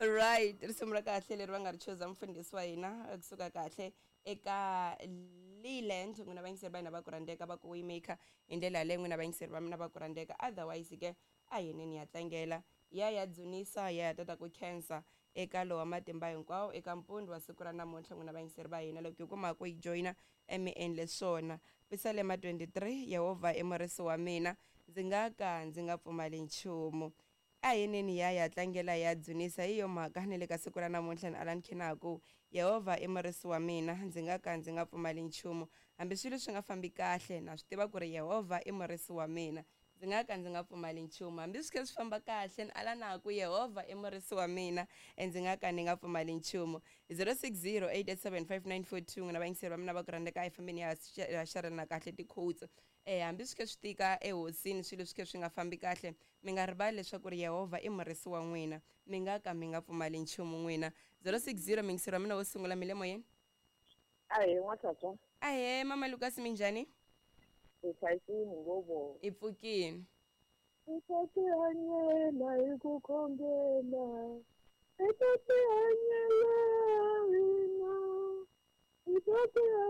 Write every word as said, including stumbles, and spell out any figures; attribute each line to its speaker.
Speaker 1: Right, risimu ra kahle leri va nga ri chuza mufundhisi wa hina kusuka kahle eka Leland. N'wina vayingiseri va hina va ku rhandzeka va ku Waymaker hi ndlela yaleyo, n'wina vayingiseri va mina va ku rhandzeka. Otherwise ke a hineni ya tlangela ya ya dzunisa ya ya tata ku khensa eka lowa matimba hinkwawo eka mpundzu wa siku ra namuntlha. N'wina vayingiseri va hina loko hi kuma ku yi joyina emi endle swona. Pisalema twenty-three, Yehovha i murisi wa mina, ndzi nga ka ndzi nga pfumali nchumu. A hineni ya ya tlangela ya dzunisa. Hi yo mhaka ni le ka siku ra namuntlha ni Alan Khenaku, Yehovha i murisi wa mina, ndzi nga ka ndzi nga pfumali nchumu. Hambi swilo swi nga fambi kahle, na swi tiva ku ri Yehovha i murisi wa mina, ndzi nga ka ndzi nga pfumali nchumu. Hambi swi kha swi famba kahle, ni ala naku Yehovha i murisi wa mina, e ndzi nga ka ni nga pfumali nchumu. zero six zero eight eight seven five nine four two, n'wina vayingiseri va mina va ku rhandzeka, a hi fambeni ya ya xarelana kahle ti-quotes. Eh hambi swi kha swi tika ehosini, swilo swi kha swi nga fambi kahle, mi nga rivali leswaku ri Yehovha i murisi wa n'wina, mi nga ka mi nga pfumali nchumu n'wina. zero six zero, muyingiseri wa mina wo sungula, mi le moyeni?
Speaker 2: Ahee n'watshatswa.
Speaker 1: Ahee mama Lucas, minjhani?
Speaker 2: Hi hlayisini ngopfu.
Speaker 1: Hi pfukini.
Speaker 2: Hi ta tihanyela hi ku khongela, hi ta tihanyela hina, hi ta tihanyela.